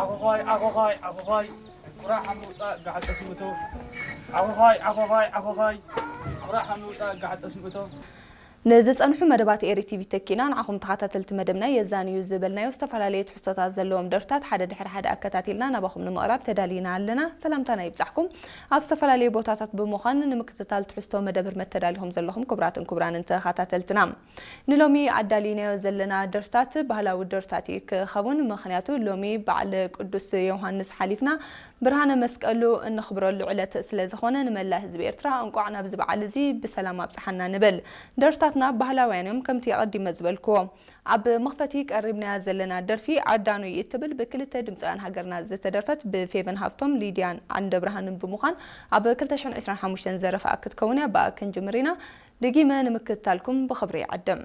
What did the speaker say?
ዓኾዃይ ዓኾዃይ ዓኾዃይ፣ ቁራዕ ሓምውፃእ ጋዕጠ ስምእቶ። ዓኾዃይ ዓኾዃይ ዓኾዃይ፣ ቁራዕ ሓምውፃእ ጋዕጠ ስምእቶ። ንዝፀንሑ መደባት ኤሪ ቲቪ ተኪና ንዓኹም ተኸታተልቲ መደብና የዛንዩ ዝበልናዮ ዝተፈላለዩ ትሕዝቶታት ዘለዎም ደርፍታት ሓደ ድሕሪ ሓደ ኣከታቲልና ናባኹም ንምቕራብ ተዳሊና ኣለና። ሰላምታና ይብጻሕኩም። ኣብ ዝተፈላለዩ ቦታታት ብምዃን ንምክትታል ትሕዝቶ መደብ ህርመት ተዳሊኹም ዘለኹም ክቡራትን ክቡራንን ተኸታተልትና፣ ንሎሚ ኣዳሊናዮ ዘለና ደርፍታት ባህላዊ ደርፍታት እዩ ክኸውን። ምኽንያቱ ሎሚ በዓል ቅዱስ ዮሃንስ ሓሊፍና ብርሃነ መስቀሉ እንኽብረሉ ዕለት ስለ ዝኾነ ንመላእ ህዝቢ ኤርትራ እንቋዕ ናብዚ በዓል እዚ ብሰላም ኣብጽሓና ንብል። ደርፍታትና ባህላውያን እዮም፣ ከምቲ ኣቐዲመ ዝበልክዎ። ኣብ መኽፈቲ ቀሪብናያ ዘለና ደርፊ ዓዳኑ እትብል ብክልተ ድምፃውያን ሃገርና ዝተደርፈት ብፌቨን ሃፍቶም፣ ሊድያን ዓንደብርሃንን ብምዃን ኣብ ክልተ ሽሕን ዕስራን ሓሙሽተን ዘረፋ ክትከውን እያ። ብኣ ክንጅምር ኢና። ደጊመ ንምክትታልኩም ብኽብሪ ይዕድም።